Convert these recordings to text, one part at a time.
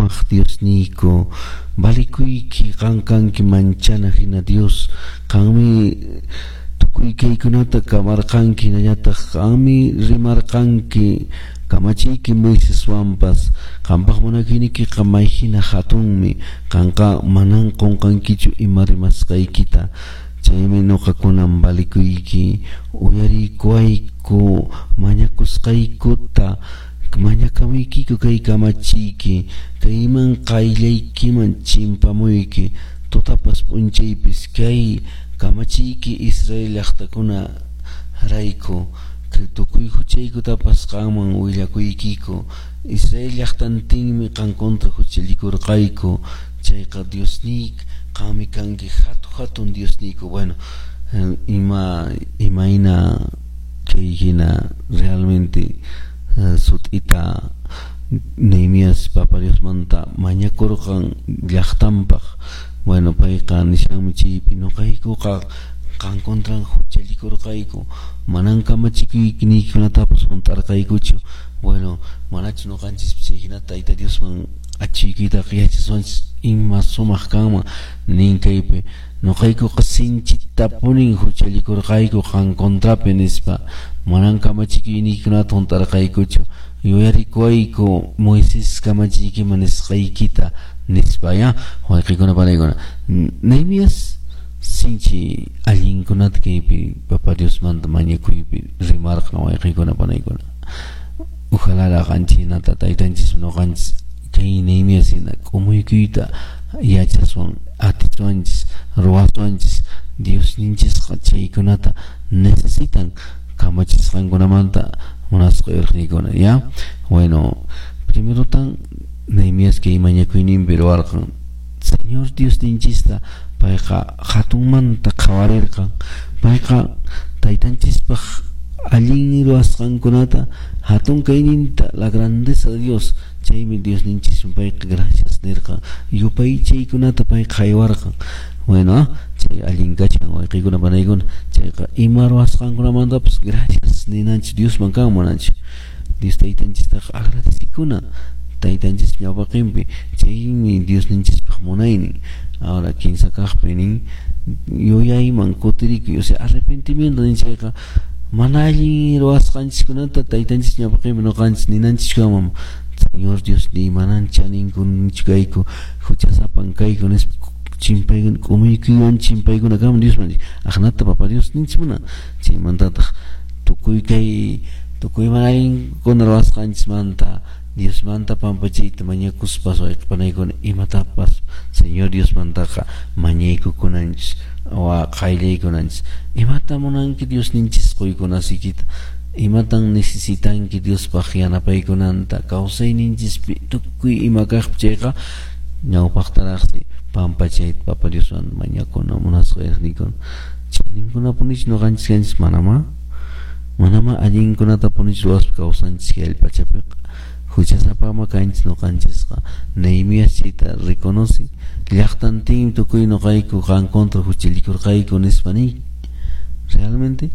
Kamaq Diosniyku, valikuyki qan kanki manchana hina Dios, qanmi tukuy kaykunata kamarqanki, hinallataq qanmi rimarqanki kamachiyki Moiseswanpas, qampaq munakuyniykiqa may hina hatunmi, qanqa manan qunqankichu ima rimasqaykita. Chaymi nuqakunan valikuyki, uyariykuwayku mañakusqaykuta, mañakamuykiku kay kamachiyki, kayman qayllaykiman chimpamuyki, tutapas p'unchaypis kay kamachiyki Israel llaqtakuna rayku, tukuy huchaykutapas qanman willakuykiku, Israel llaqtantinmi qan contra huchallikurqayku, chayqa Diosniy qanmi kanki hatu hatun Diosniyku. Bueno, ima imayna chay hina realmente sut'ita Nehemías Papa Diosmanta mañakurqan llaqtanpaq. Bueno, payqa nishanmi chaypi nuqaykuqa qan contran huchallikurqayku, manan kamachikuyniykunatapas hunt'arqaykuchu. Bueno, manachu nuqanchis chay hinata Tayta Diosman achiykuytaqa yachaswanchis ima sumaq kanman nin kaypi nuqaykuqa sinchitapunin huchallikurqayku qan contrapi nispa, manan kamachikuyniykunata hunt'arqaykuchu, yuyarikuwayku Moisés kamachiykiman nisqaykita nispa ya wayqikuna panaykuna. Nehemías sinchi allinkunata kaypi Papa Diosmanta mañakuypi rimarqan wayqikuna panaykuna. Ojalá qanchinata taytanchis nuqanchis kay Nehemías hina k'umuykuyta yachaswan atichwanchis ruwaswanchis. Diosninchisqa chaykunata necesitan kamachisqankunamanta munasqa yuraqniykuna ya. Bueno, primerotan Nehemías kay mañakuyninpi ruwarqan Señor Diosninchista payqa hatunmanta qhawarirqan, payqa taytanchispaq allin ruwasqankunata hatun kayninta, la grandeza de Dios, chaymi Diosninchisman payqa gracias nirqan, yupaychaykunata payqa haywarqan. Bueno, chay allin kachan wayqiykuna panaykuna, chayqa ima ruwasqankunamantapas gracias ninanchis Diosman kan munanchis. Dios taytanchistaqa agradecikuna taytanchis ñawpaqinpi, chaymi Diosninchispaq munaynin. Ahora kinsa kaqpi nin yuyayman kutirikuy, o sea, arrepentimiento nin chayqa mana allin ruwasqanchiskunata taytanchis ñawpaqinpi nuqanchis ninanchis kanman, Señor Diosniy manan chaninkunchu kayku, huchasapan kayku nispa chimpaykuna k'umuykuywan chimpaykuna kanman Diosman, aqnata Papa Dios ninchis munan. Chaymantataq tukuy kay tukuy mana allinkuna ruwasqanchismanta Diosmanta pampachayta mañakuspas wayqipanaykuna imatapas Señor Diosmantaqa mañaykukunanchis wa qayllaykunanchis. Imata munanki Diosninchis quykunasikita, imatan necesitanki Diospaq yanapaykunanta kawsayninchispi tukuy ima kaqpi, chayqa ñawpaqtaraqsi pampachayta Papa Diosman mañakuna munasqa yaqnikuna. Chaninkunapunichu nuqanchis kanchis? Manamá, manamá allinkunatapunichu ruwaspa kawsanchis kay allpachapiqa, huchasapama kanchis nuqanchisqa. Nehemías chayta reconoce, llaqtantinmi tukuy nuqayku qan contra huchallikurqayku nispa nin. Realmente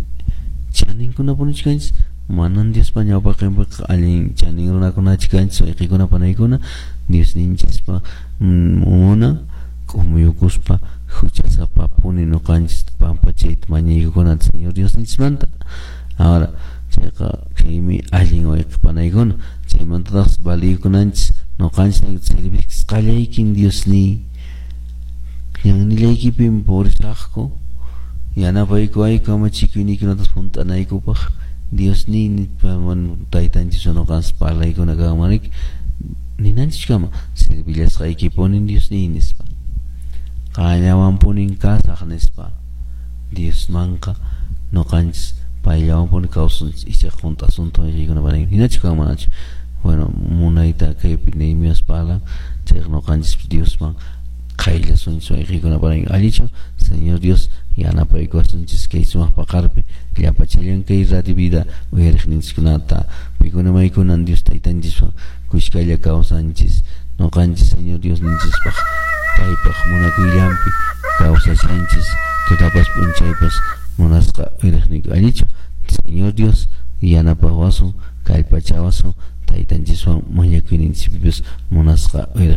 chaninkunapunichu kanchis? Manan Diospa ñawpaqinpiqa allin chanin runakunachu kanchis wayqikuna panaykuna. Diosninchispa munan k'umuyukuspa huchasapapuni nuqanchis pampachayta mañaykukunata Señor Diosninchismanta. Ahora chayqa chaymi allin wayqipanaykuna. Chaymantataq valiykunanchis nuqanchis servisqallaykin Diosniy, ñannillaykipim purisaqku, yanapaykuwayku kamachikuyniykunata hunt'anaykupaq Diosniy nispa taytanchis nuqanchis parlaykuna kanman ninanchis kama servillasqaykipunin Diosniy nispa, qallawanpunin kasaq nispa. Diosmanqa nuqanchis payllawanpuni kawsanchis ichaqa hunt'asunta wayqiykuna panaykuna hinachu kanman manachu. Bueno, munayta kaypi Nehemías parlan, chayqa nuqanchis Diosman qayllasunchis wayqiykuna panaykuna. Allichu Señor Dios yanapaykuwasunchis kay sumaq paqarpi llapachallan kay Radio Vida uyariqninchiskunata, paykuna maykunan Dios taytanchiswan kushkalla kawsanchis nuqanchis Señor Diosninchispaq paypaq munakuyllanpi kawsashanchis tutapas p'unchaypas munasqa uyariqniyku. Allichu Señor Dios yanapawasun kallpachawasun taytanchiswan mañakuyninchispipas munasqa uyariq.